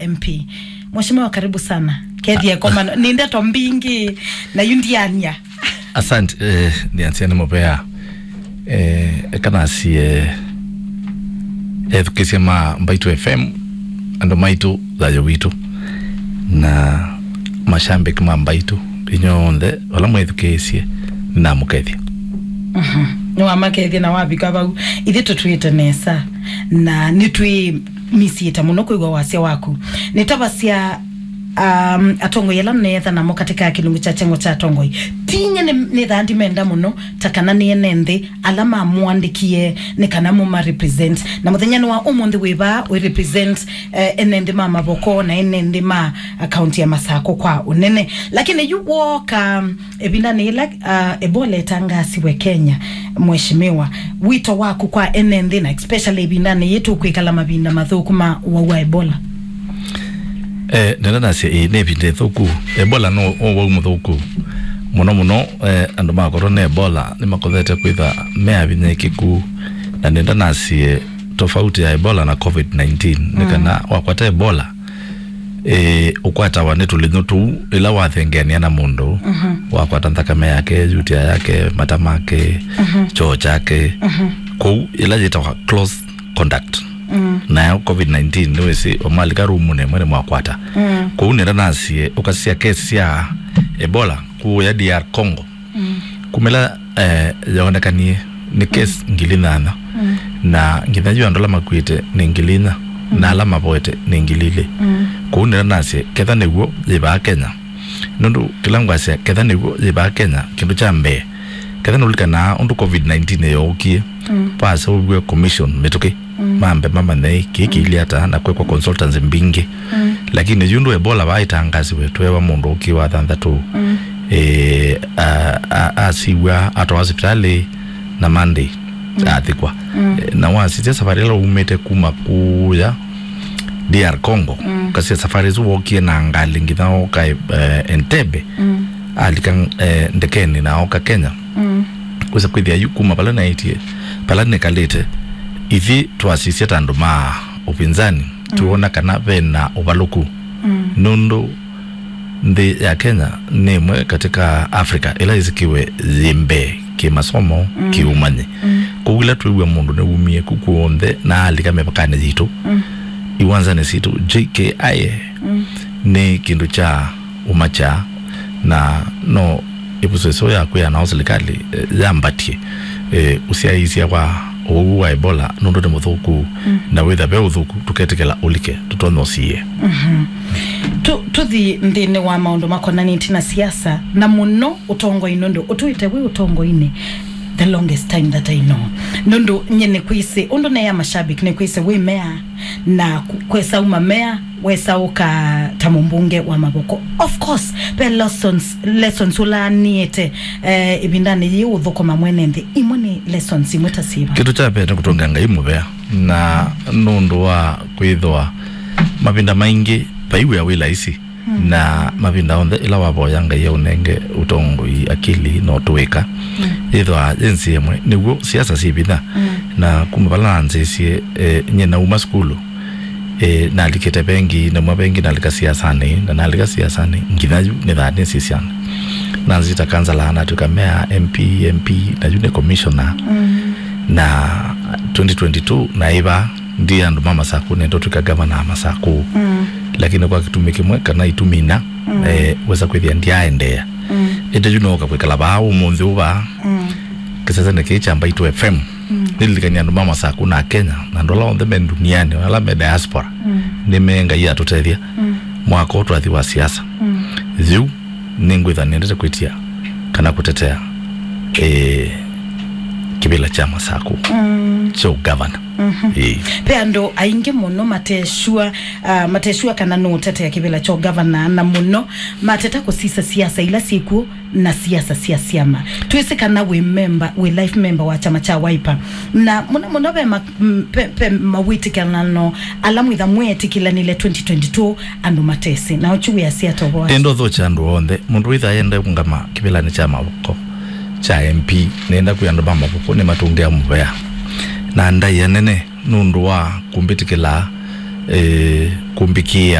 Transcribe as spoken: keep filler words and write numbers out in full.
M P. Mheshimiwa, karibu sana. Kethie komano. Nĩ ndeto mbingĩ na yu ndiania. Asante, eh, ndianzia nĩ mũvea. Eh, eka nasie, eh, ethukĩsya ma Mbaitu F M, andũ maitũ, thayũ witũ, na mashabiki ma Mbaitu, inyonthe, vala mwĩthukĩĩsye, nĩnamũkethya. Mhm. Nĩwamakethya na wavika vau. Ithyĩ tũtwĩte nesa, na nĩtwĩmisiĩte mũno kwĩw'a wasya waku. Nĩtavasya, um, atongoi ala neetha namo katika kĩlungu kya kyengo kya atongoi. Tinye nĩ, nĩthaa ndimenda mũno, ta kana nĩ ene nthĩ ala mamũandĩkie nĩ kana mũma represent. Na mũthenya nĩ wa ũmũnthĩ wĩ vaa wĩ represent, eh, ene nthĩ ma Mavoko na ene nthĩ ma, ah, kaunti ya Masakũ kwa ũnene. Lakini yu wooka, ĩvindanĩ yĩla, ah, Ebola ĩtangaasiwe Kenya, Mheshimiwa, wito waku kwa ene nthĩ, na especially ĩvindanĩ yĩĩ tũkwĩkala mavinda mathũku ma ũwau wa Ebola? Eh, nenda nasya, ĩĩ, nĩ ĩvinda ĩthũku. Ebola no ũwau mũthũku mũno mũno. Eh, andũ makorwo nĩ Ebola nĩmakothete kwĩtha meavinyĩkĩku, na nenda nasye tofauti ya Ebola na covid nineteen nĩ kana wakwata Ebola, eh, ũkwatawa nĩ tũlĩnyũ tũu ĩla wathengeania na mũndũ, wakwata nthakame yake, yutia yake, mata make, choo chake. Kũu ĩla yĩtawa close contact. Nayo covid nineteen nĩwĩsĩ, wamalika rumunĩ ĩmwe nĩmwakwata. Kũu nĩla nasie ũkasisya kesi sya Ebola kũya D R Congo. Kumĩla, eh, yaonekanie nĩ case ngili nyanya, na nginya yu andũ ala makuĩte nĩ ngili inya, na ala mavoete nĩ ngili ilĩ. Kũu nĩla nasye, ketha nĩw'o yĩvaa Kenya. Nũndũ kĩla ngwasya, ketha nĩw'o yĩvaa Kenya, kĩndũ kya mbee, ketha nũlikanaa ũndũ covid nineteen yookie, vaseũviwe commission mĩtũkĩ, mambe mamanye kĩĩ kĩilyĩ ata na kwekwa consultants mbingĩ. Lakini yu ũndũ Ebola vaa ĩtangasiwe, tweewa mũndũ ũkĩ wa thanthatũ, eh, a-, a-, asiw'a atwawa sipitalĩ na Monday athikwa. Eh, na wasisya safari ĩla umĩte kuma kũya D R Congo, kasisya safari ĩsu wokie na ngalĩ nginya oka, eh, Entebbe, alika, eh, ndekenĩ na oka Kenya. Wĩsa kwĩthĩa yu kuma vala naĩtye, vala nĩkalĩte, ithyĩ twasisya ta andũ ma upinzani, tuona kana vena ũvalũku. Nũndũ nthĩ ya Kenya nĩ ĩmwe katika Africa ĩla yĩsikiwe yĩ mbee kĩmasomo, kĩũmanyi. Kwoou ĩla twĩw'a mũndũ nĩwumie ku kw'onthe na alika mĩvakanĩ yitũ, iwanzanĩ sitũ, J K I A nĩ kĩndũ kya ũmakya, na no ĩvuso ĩseo ya kwĩa nao silikalĩ, eh, yambatie, eh, ũsyaĩĩsya wa ũwau wa Ebola nũndũ nĩ mũthũku, na wĩtha ve ũthũku tũketĩkĩla ũlike, tũtonya ũsie. Tu-, tũthi nthĩnĩ wa maũndũ makonanĩtye na siasa, na mũno ũtongoi, nũndũ ũtũĩte wĩ ũtongoinĩ the longest time that I know. Nũndũ nye nĩkwĩsĩ, ũndũ neya mashabiki, nĩkwĩsĩ wĩ mea, na ku-, kwesa uma mea, wesa ũka ta mũmbunge wa Mavoko. Of course, ve lessons, lessons ũlaanĩte, eh, ĩvindanĩ yĩĩ ũthũkũma mwene nthĩ. Imwe nĩ lessons imwe ta syĩva? Kĩndũ kya mbee nĩ kũtũngĩa Ngai mũvea, na nũndũ wa kwĩthwa mavinda maingĩ vai wĩa wĩ laisi, na mavinda onthe ĩla wavoya Ngai aũnenge ũtongoi, akili, na ũtũĩka, yĩthwaa yĩ nzĩa ĩmwe, nĩw'o siasa syĩ vinya. Na kuma vala nanzĩĩsye, eh, nyie nauma sukulu, eh, nalikĩte vengi, nauma vengi nalika siasanĩ, na nalika siasanĩ nginya yu nĩthaa nĩsĩ syana. Nanzĩta kansala, natw'ĩka mea, M P, M P, na yu nĩ commissioner. Na twenty twenty-two naĩ vaa, ndi andũ ma Masakũ, nenda ũtw'ĩka gavana wa Masakũ. Lakini kwa kĩtumi kĩmwe kana itumi inya, eh, wesa kwĩthĩa ndyaendeea. Ĩndĩ yu nooka kwĩkala vaa ũmũnthĩ ũũ vaa kĩsesenĩ kĩĩ kya Mbaitu F M. Nĩlilikany'a andũ ma Masakũ na Kenya, na andũ ala onthe me ndunianĩ, ala me diaspora, nĩ me Ngai atũtethya. Mwaka ũũ twathi wa siasa. Yu nĩngwĩtha nĩendete kwĩtia kana kũtetea, eh, kĩvĩla kya Masakũ kya ũgavana. Ĩĩ. Ve andũ aingĩ mũno matesua, ah, matesua kana nũũtetea kĩvĩla kya ũgavana, na mũno mateta kũsisa siasa ila syĩkw'o na siasa sya syama. Twĩsĩ kana wĩ member, wĩ life member wa kyama kya Wiper. Na mũno mũno ve ma-, m-, ve, ve mawĩtĩkĩlano ala mwĩtha mwetĩkĩlanile twenty twenty-two andũ matesĩ. Na ũkyu wĩasya ata ũvoo asu? Ĩndĩ ũthũkya andũ onthe. Mũndũ wĩtha aenda kũngama kĩvĩlanĩ kya Mavoko kya M P, nenda kwĩ andũ ma Mavoko nĩmatũngĩa mũvea. Na ndaĩa nene nũndũ wa kũmbĩtĩkĩla, eh, kũmbĩkĩĩa